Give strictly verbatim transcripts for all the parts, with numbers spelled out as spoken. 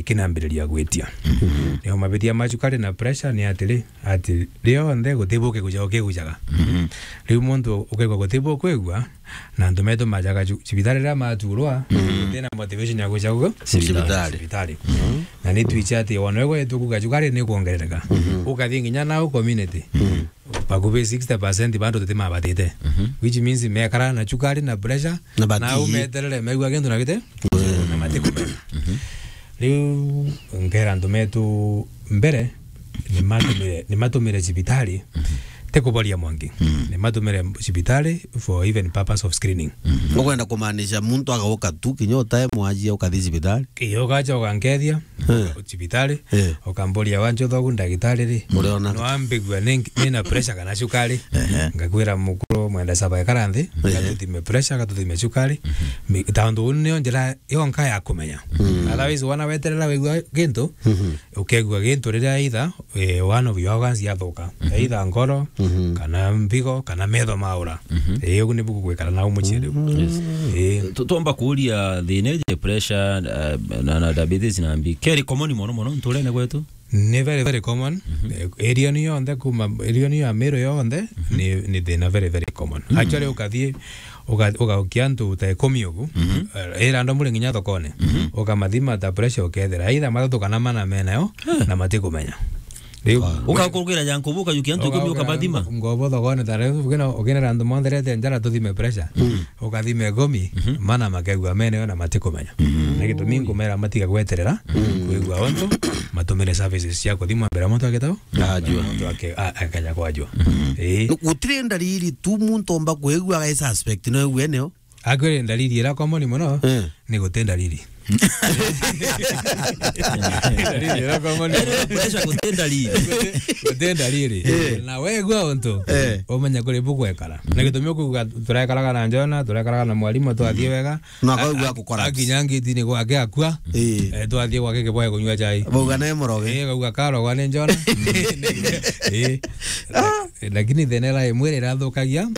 kinambiriria gwitia. Nio mabitia ma cukari na pressure ni atiri, ati rionthe guti buke guja ukigujaga. Riu muntu ukaigua guti bukwigua, na antu metu majaga cu-, cibitari riria maturwa, guti na motivation ya guja ugu? Cibitari. Cibitari. Na ni twichi ati wona we gwetu kuga cukari ni kuongerereka. Ukathi nginya nau community. Bakubi sixty percent bantu tutimabatite. Which means mekara na cukari na pressure, na bati- nau meterere megua kintu na gite? Na matikumenya. Riu nkera antu metu mbere, nimatumire, nimatumire cibitari, ti kuboria mwangi. Nimatumire cibitari for even purpose of screening. Ukwenda kumaanisha muntu agauka tu kinya utae mwajia ukathi cibitari? Iyo ukaja ukankethia, cibitari, ukamburia, "Wanjutha ugu ndagitari ri?" Uriona? Nwambigua ni, ni na pressure kana cukari. Ngakwira, "Mukuru, mwenda saba ekara nthi, gatuthime pressure, gatuthime cukari." Mi-, tondu uu nio njira yonka ya kumenya. Otherwise, wana weterera wigua gintu, ukegua gintu riria either, eh, one of your organs yathuka. Either ngoro, kana mbigo, kana metho maura. Eh, ugu nibu gugwikara nau mucii riu. Eh. Tu-, twomba kuuria thina iji pressure, eh, na, na diabetes na mbi. Keri common mono mono nturene gwetu? Ni very, very common. Eh, area ni yonthe kuma, area ni ya Meru yonthe, ni, ni thina very, very common. Actually, ukathie, uka-, ugaukia antu ta ikumi ugu, eh, ira andu muri nginya thokone, ukamathima ta pressure ukethira either mathatu kana mana menayo, na matikumenya. Riu ukakurukira ja nkubu, ukajukia antu ikumi, ukabathima. Ngobo thokone ta riu, ukina, ukinera antu monthe rete njara tuthime pressure. Ukathima ikumi, mana makegua menayo na matikumenya. Na gitumi nkumera matiga gweterera, kwigua untu, matumire services cia kuthimwa mbere muntu agitau. Ajua. Muntu ake-, a-, akaja kwajua. Eh. Gutiri ndariri tu muntu omba kwigua aga suspect no igwe nio. Akwire ndariri ira common mono, ni guti ndariri. Ndariri ira common mono. Pressure guti ndariri. Guti ndariri. Na wegua untu, umenya kuri bugwekara. Na gitumi ukuigua turekaraga na Jona, turekaraga na mwarimu, twathie wega. Na akaigua a-, a-, gukora. Akinya ngitini gwake akua. Eh, twathie gwake kiboe kunyua chai. Bauga nae muroge. Eh, akauga karogwa ni Jona. Eh. Lakini thina ira imwe iria irathukagia,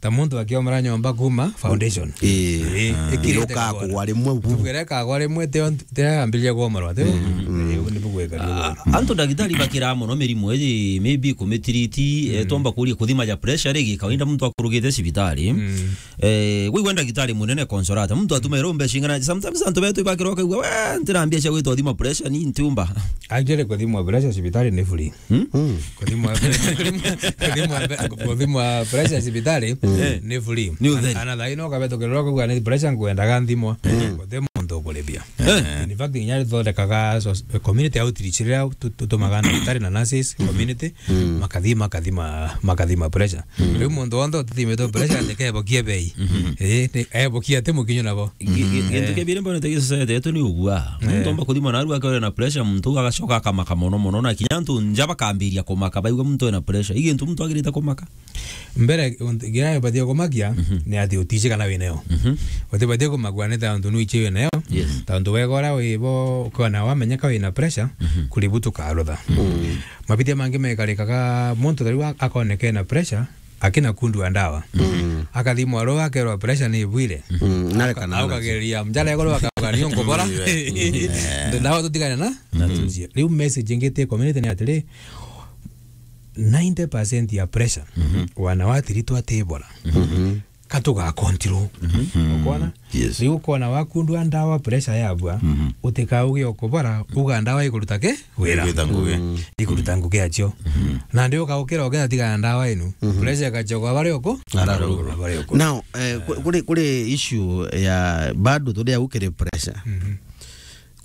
ta muntu akiomora nyomba kuma foundation. Eh. Eh, ikirite kagwa rimwe. Tugere kagwa rimwe, tio, tio yambiria kuomorwa, tio? Eh, ugu nibu gwika. Ah, antu ndagitari bakira mono mirimu iji, maybe kumitiriti, eh, twomba kuria kuthima ja pressure ri, gikawaida muntu akurugite cibitari. Eh, wigua ndagitari munene consolata. Muntu atumaira mbeca ing'ana. Sometimes antu betu ibakirwa kaigua, "We, ntira mbia cia gwita uthima pressure, ni ntiumba." Actually, kuthimwa pressure cibitari ni free. Hmm? Kuthimwa, kuthimwa, kuthimwa pressure cibitari ni free. Ni utheri. Ana thaino ukabetukirwa kaigua ni pressure nkwendaga nthimwa. Guti muntu ukuribia. Eh. In fact, nginya rithondekaga so-, community outreach riria tu-, tutumaga ndagitari na nurses, community, makathi-, makathima, makathima pressure. Riu muntu wonthe utithimitwe pressure, ndekebokie bei. Eh, ni, ebokie ati mukinyo nabo. Gi-, gi-, gintu kia biri mbonete gi society yetu ni ugua. Muntu omba kuthima narua akore na pressure, muntu agacoka akamaka mono mono, na kinya antu nja bakambiria kumaka, baigua muntu ena pressure. I gintu muntu agirite kumaka? Mbere, unt-, kiria ubatie kumakia ni ati utici kana winayo. Utibatie kumakua ni tontu nuici winayo. Yes. Tontu wega uria wibo, ukona wamenyeka wina pressure, kuri bu tukarutha. Mabitia mangi mekarikaga muntu tariu a-, akoneka ena pressure, akina kundua ndawa. Akathimwa ro akerwa pressure ni ibwire. Nareka na akageria mjara iguru akauga ni nkubora. Ndawa tutigane na, na tucie. Riu message ingi ti community ni atiri, ninety percent ya pressure, wana watiritwa tibora. Katuga control. Ukona? Yes. Riu ukona wakundua ndawa pressure yabua, utikauge ukubora, uga ndawa ikuruta ki? Wira. Ikuruta ngugi. Ikuruta ngugi acio. Na ndio ukaukira ukenda tigana ndawa inu. Pressure ikachoka bari uku? Ara ruguru. Bari uku. Now, eh, ku-, kuri, kuri issue ya bado turi au kiri pressure.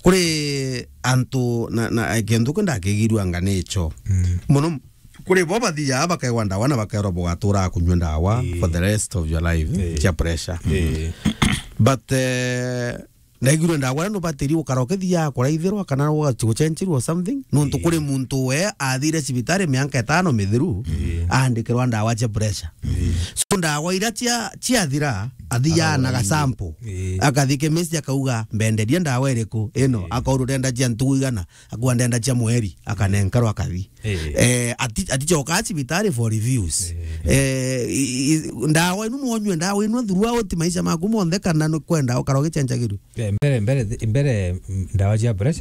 Kuri antu na, na, kintu kio ndakigirua anga nicho. Mono kuri bo bathiaga bakaigwa ndawa na bakairwa bugatura kunyua ndawa for the rest of your life, cia pressure. But, eh, ndaigirwe ndawa no batiri ukara ukithia kuraithirwa kana ugacenjirwa something. Nontu kuri muntu we athire cibitari mianka itano mithiru, aandikirwa ndawa cia pressure. So ndawa iria cia, ciathira, athiaga na gasample. Akathi chemist akauga, "Mbenderie ndawa iriku ino?" Akaurwa, "Urenda cia ntugu igana?" Akua, "Ndenda cia mweri," akanenkerwa akathi. Eh, ati-, atichokaa cibitari for reviews. Eh, i-, i-, ndawa inu nwonyue ndawa inu throughout maisha maku monthe, kana nukwenda ukara ugicenjagirua? Eh, mbere, mbere, mbere, mm, ndawa cia pressure